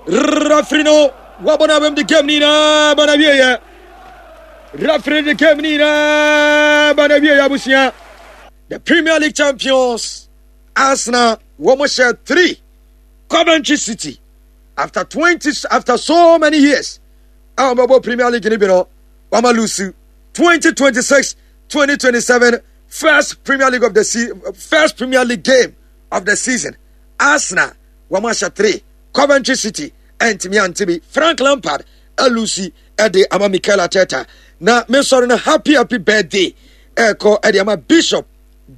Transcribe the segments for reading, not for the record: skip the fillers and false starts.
Referee no wabɔ no abam de game no nyinaa ba na wieɛ. Referee de game no nyinaa ba na wieɛ abusua. The Premier League champions Arsenal wɔn hyɛ 3 Coventry City after 20 after so many years a wɔn bɛbɔ Premier League no bi no wɔn lose 2026 2027 first Premier League of the season first Premier League game of the season Arsenal wɔn ahyɛ 3 Coventry City ɛntumi ante bi Frank Lampard alusi ɛde ama Mikel Arteta na mesɔre no happy happy birthday ɛkɔ ɛde ama Bishop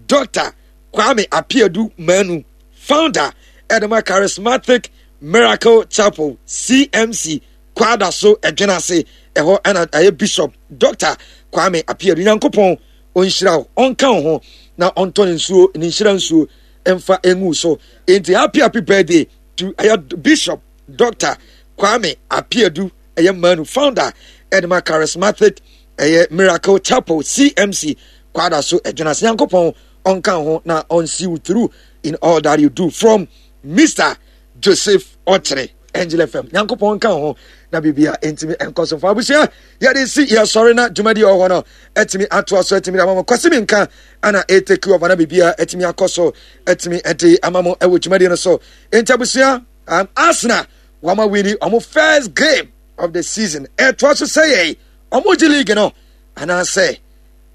Dr. Kwame Apiadu Manu founder ɛde ma Charismatic Miracle Chapel CMC Kwada so ɛdwena ase ɛhɔ ɛna ɛyɛ Bishop Dr. Kwame Apiadu Nyankopɔn ɔnhyira wo ɔnka wo ho na ɔntɔ ne nsuo ne nhyira nsuo mfa ngu so nti happy happy birthday to ɛyɛ Bishop Dr. Kwame Apiadu ɛyɛ Manu founder ɛde ma Charismatic ɛyɛ Miracle Chapel CMC Kwada so ɛdwena ase Nyankopɔn ɔnka ho na ɔnsi wo through in all that you do from Mr. Joseph Ɔkyere Angel FM Nyankopɔn nka ho na biribia ɛntumi ɛnkɔ so mfa abusua yɛde si yɛsɔre na dwumadi ɔwɔ hɔ no ɛtumi atoa so ɛtumi de ama mo kwasi mi nka ana ɛtake over na biribia ɛtumi akɔ so ɛtumi ɛde ama mo ɛwɔ dwumadi no so nti abusua um, Arsenal wɔn wini wɔn first game of the season ɛtoa so sɛ yɛn wɔn gye league no anaasɛ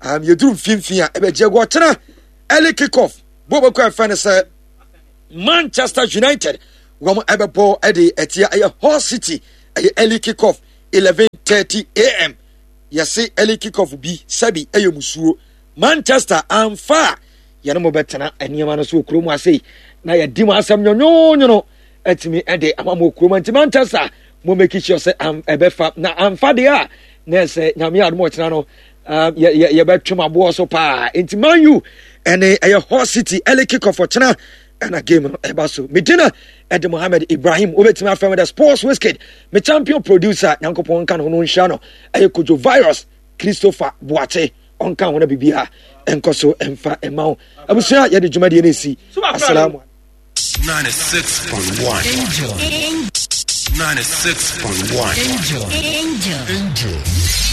um, yɛduru mfimfini a ɛbɛgye agu ɔkyena early kick off bɔɔl bɛkɔ ɛfɛ no sɛ Manchester United wɔn ɛbɛbɔ ɛde ɛtia ɛyɛ Hull City ɛyɛ early kick off 11:30 am yɛse early kick off bi sɛbi ɛyɛ musuo Manchester amfa a yɛne mo bɛtena nneɛma no so wɔ kurom ase na yɛdi mo asɛm nwonwonwono atumi ɛde ama mo kurom nti Manchester mo make sure sɛ ɛbɛfa na amfa deɛ a na ɛsɛ nyame adom ɔkyena no yɛbɛtwe mo aboɔ so paa nti Man U ɛne ɛyɛ Hull City early kick off ɔkyena ɛna game no ɛba so medina ɛde Mohammed Ibrahim wobɛtumi afrɛ me the sports wizkid me champion producer nyankopɔn nka ne ho no nhyira no ɛyɛ Kojo Virus Christopher Boakye ɔnka ho na biribiara ɛnkɔ so ɛmfa ɛma wo abusua yɛde dwumadie no ɛsi assalamu 96.1 Angel. 96.1 Angel. Angel. Angel.